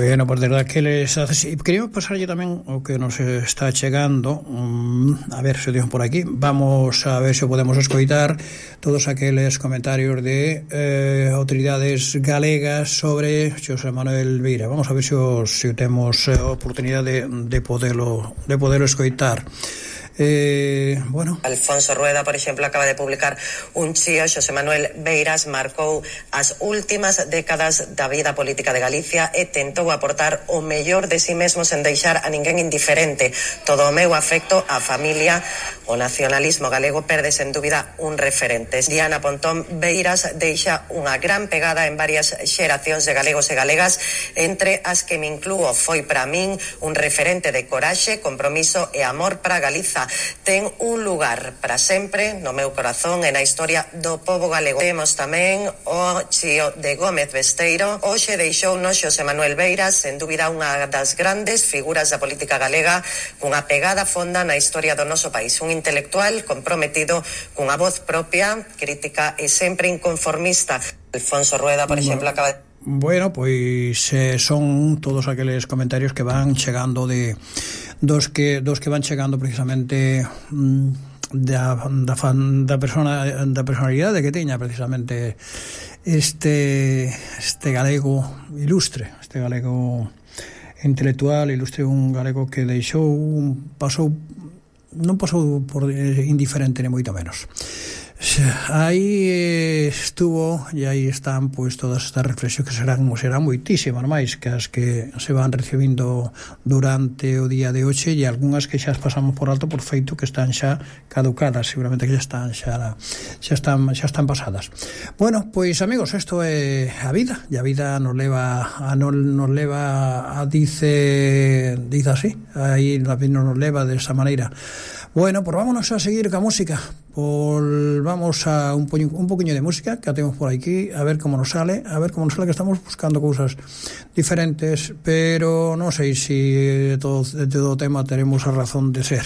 Bueno, pues de verdad que les hace... Queríamos pasarlle tamén o que nos está chegando, a ver se o por aquí. Vamos a ver se podemos escoitar todos aqueles comentarios de autoridades galegas sobre Xosé Manuel Beira. Vamos a ver se o temos oportunidade de poderlo escoitar. Bueno. Alfonso Rueda, por exemplo, acaba de publicar un chío. Xosé Manuel Beiras marcou as últimas décadas da vida política de Galicia e tentou aportar o mellor de si mesmo sen deixar a ninguén indiferente. Todo o meu afecto á familia. O nacionalismo galego perde sen dúbida un referente. Diana Pontón Beiras deixa unha gran pegada en varias xeracións de galegos e galegas, entre as que me inclúo. Foi para min un referente de coraxe, compromiso e amor para Galiza. Ten un lugar para sempre no meu corazón e na historia do pobo galego. Temos tamén o chío de Gómez Besteiro. Hoxe deixounos Xosé Manuel Beiras, sen dúbida unha das grandes figuras da política galega, cunha pegada fonda na historia do noso país. Un intelectual comprometido cunha voz propia, crítica e sempre inconformista. Alfonso Rueda, por exemplo, acaba de... Bueno, pois son todos aqueles comentarios que van chegando dos que van chegando precisamente da personalidade que teña precisamente este galego ilustre, este galego intelectual ilustre, un galego que non pasou por indiferente ni moito menos. Aí estuvo e aí están pois todas estas reflexións que serán moitísimas máis que as que se van recibindo durante o día de hoxe, e algunhas que xa as pasamos por alto por feito que están xa caducadas, seguramente que xa están pasadas. Bueno, pois amigos, isto é a vida, e a vida nos leva a dice así, aí la vida nos leva desa maneira. Bueno, pues vámonos a seguir ca música. Vamos a un poquinho de música que temos por aquí, a ver como nos sale, que estamos buscando cousas diferentes, pero non sei se de todo o tema teremos a razón de ser.